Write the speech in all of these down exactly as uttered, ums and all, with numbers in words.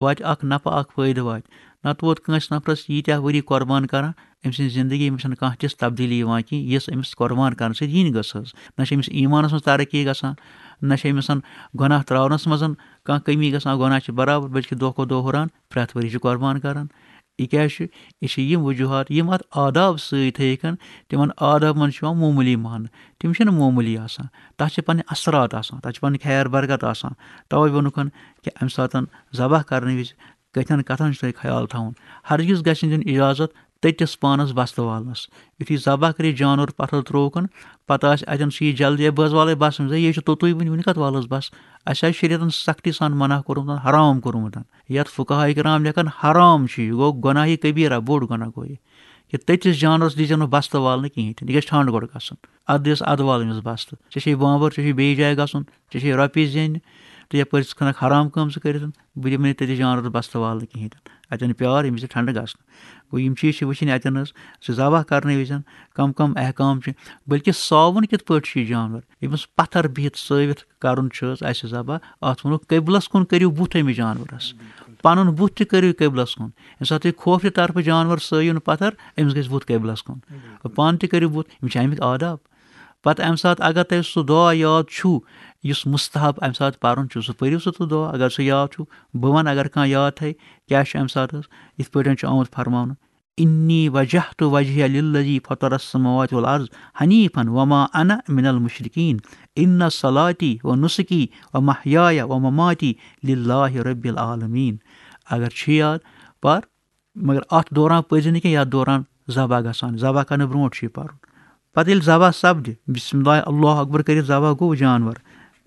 واتہِ اکھ نفع، اکھ فٲیدٕ واتہِ۔ نتہٕ ووت کٲنٛسہِ نفرس ییٖتیٛاہ ؤری قۄربان کران، أمۍ سٕنٛزِ زندگی منٛز چھنہٕ کانٛہہ تِژھ تبدیلی یِوان کینٛہہ، یۄس أمِس قۄربان کرنہٕ سۭتۍ یِنۍ گٔژھ ٲس۔ نہ چھِ أمِس ایٖمانس منٛز ترقی گژھان، نہ چھِ أمِس گۄناہ تراونس منٛز کانٛہہ کمی گژھان، گۄناہ چھِ برابر، بلکہِ دۄہ کھۄتہٕ دۄہ ہُران، پرٛٮ۪تھ ؤری چھِ قۄربان کران۔ یہِ کیٛازِ چھُ؟ یہِ چھِ یِم وجوہات، یِم اتھ آداب سۭتۍ تھٲیِکھ، تِمن آدابن چھُ یِوان معموٗلی ماننہٕ۔ تِم چھِنہٕ معموٗلی آسان، تتھ چھِ پنٕنۍ اثرات آسان، تتھ چھِ پنٕنۍ خیر برکت آسان۔ توے ووٚنُکھ کہِ امہِ ساتہٕ ذبح کرنہٕ وِزِ کتھن کتھن چھُ تۄہہِ خیال تھاوُن۔ ہرگز گژھِ نہٕ دیُن اجازت تٔتِس پانس بستہٕ والنس۔ یُتھُے ذبح کٔرِتھ جانور پتھر ترووُکھ، پتہٕ آسہِ اتٮ۪ن سُہ یہِ جلدی، "ہے، بہٕ حظ والے بس أمِس، ہے، یہِ چھُ توٚتُے وُنہِ، وُنہِ کتھ والس بس؟" اسہِ آسہِ شریعتن سختی سان منع کوٚرمُت، حرام کوٚرمُت۔ یتھ فقہاء کرام لیکھان حرام چھُ، یہِ گوٚو گۄناہ، یہِ کبیرہ، بوٚڑ گۄناہ گوٚو یہِ۔ کہِ تٔتِس جانورس دیٖزٮ۪و نہٕ بستہٕ والنہٕ کِہیٖنۍ تہِ، یہِ گژھِ ٹھنٛڈ گۄڈٕ گژھُن۔ اتھ دِس اتھ وال أمِس بستہٕ، ژےٚ چھے بامبر، ژےٚ چھے بیٚیِس جایہِ گژھُن، ژےٚ چھے رۄپیہِ زینہِ، تہٕ یپٲرۍ ژٕ کھنکھ حرام کٲم ژٕ کٔرِتھ، بہٕ دِمہٕ نہٕ تٔتِس جانورس بستہٕ والنہٕ کِہیٖنۍ تہِ۔ اتٮ۪ن پیار ییٚمہِ وِزِ ٹھنٛڈٕ گژھنہٕ۔ گوٚو، یِم چیٖز چھِ وٕچھِنۍ اتٮ۪ن حظ، زِ ذبح کرنہٕ وِزِ کم کم احکام چھِ، بلکہِ ساوُن کِتھ پٲٹھۍ چھُ یہِ جانور، ییٚمِس پتھر بِہِتھ سٲوِتھ کرُن چھُ حظ اسہِ ذبح، اتھ ووٚنُکھ قبلس کُن کٔرِو بُتھ أمِس جانورس، پنُن بُتھ تہِ کٔرِو قبلس کُن۔ ییٚمہِ ساتہٕ تُہۍ کھوفرِ طرفہٕ جانور سٲیِو نہٕ پتھر، أمِس گژھِ بُتھ قبلس کُن۔ پانہٕ تہِ کٔرِو بُتھ، یِم چھِ امیِکۍ آداب۔ پتہٕ امہِ ساتہٕ اگر تۄہہِ سُہ دعا یاد چھُ، یُس مستحب امہِ ساتہٕ پرُن چھُ، سُہ پٔرِو سُہ تہٕ دعا۔ اگر سُہ یاد چھُ، بہٕ ونہٕ اگر کانٛہہ یاد تھایہِ، کیٛاہ چھُ امہِ ساتہٕ حظ؟ یِتھ پٲٹھۍ چھُ آمُت فرماونہٕ، "انی وجہت وجہی للذی فطر السماوات والارض حنیفا وما انا من المشرکین، ان صلاتی و نسکی و محیای و مماتی للہ رب العالمین۔" اگر چھُ یاد، پر، مگر اتھ دوران پٔرزِ نہٕ کینٛہہ، یتھ دوران ذبح گژھان، ذبح کرنہٕ برونٛٹھ چھُ یہِ پرُن۔ پتہٕ ییٚلہِ ذبح سپدِ، بسم اللہ، اللہ اکبر کٔرِتھ ذبح گوٚو جانور،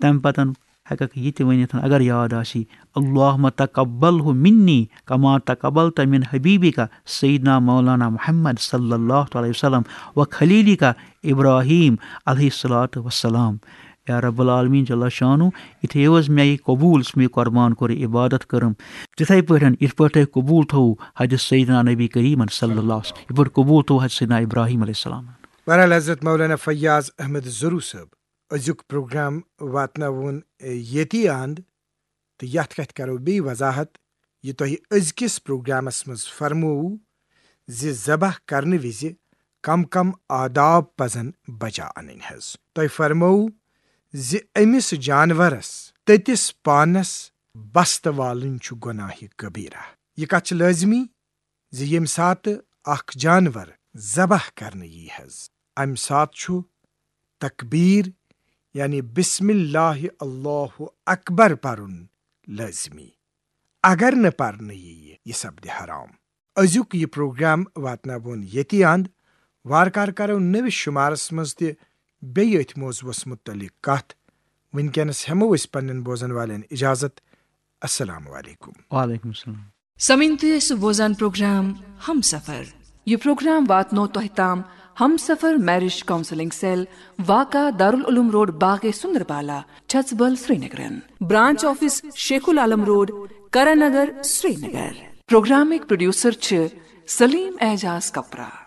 تمہِ پتہٕ ہیٚککھ یہِ تہِ ؤنِتھ، اگر یاد آسی، "اللہم تقبلہ منی کما تقبلت من حبیبک سیدنا مولانا محمد صلی اللہ علیہ وسلم و خلیلک ابراہیم علیہ الصلوۃ والسلام۔" یا رب العالمین جل شانہ، یِتھُے حظ مےٚ یہِ قبول، یُس مےٚ یہِ قربان کوٚر، یہِ عبادت کٔرٕم، تِتھے پٲٹھۍ یِتھ پٲٹھۍ تۄہہِ قبول تھوٚو حضرت سیدنا نبی کریم صلی اللہ علیہ وسلم، یِتھ پٲٹھۍ قبول تھوٚو حضرت سیدنا ابراہیم علیہ السلام۔ بہرحال حضرت مولانا فیاض احمد زرو صٲب، أزیُک پروگرام واتناوون ییٚتی اند، تہٕ یتھ کتھِ کرو بیٚیہِ وضاحت، یہِ تۄہہِ أزکِس پروگرامس منٛز فرمووُ زِ ذبح کرنہٕ وِزِ کم کم آداب پزن بجا انٕنۍ حظ۔ تۄہہِ فرمووُ زِ أمِس جانورس تٔتِس پانس بستہٕ والٕنۍ چھُ گۄناہہِ کبیرہ۔ یہِ کتھ چھِ لٲزمی زِ ییٚمہِ ساتہٕ اکھ جانور ذبح کرنہٕ یی حظ، امہِ ساتہٕ چھُ تکبیر، یعنی بسم اللہ اللہ اکبر پرُن لٲزمی۔ اگر نہٕ پرنہٕ ییہِ، یہِ سپدِ حرام۔ أزیُک یہِ پروگرام واتناوون ییٚتی اند۔ وارٕ کارٕ کرو نٔوِس شمارس منٛز تہِ بیٚیہِ أتھۍ موضوعس متعلق کتھ۔ وٕنکیٚنس ہٮ۪مو أسۍ پننٮ۪ن بوزن والٮ۪ن اجازت۔ السلام علیکم۔ وعلیکم السلام۔ سمعین، تُہۍ ٲسِو بوزان پروگرام ہم سفر۔ یہِ پروگرام واتنو تۄہہِ تام ہم سفر میرج کاؤنسلنگ سیل، واقع دارالعلوم روڈ، باغ سندربالا، چھژبل، سرینگرن۔ برانچ آفس شیخ العالم روڈ، کرن نگر، سرینگر۔ پروگرامٕکۍ پروڈیوسر چھِ سلیم اعجاز کپرا۔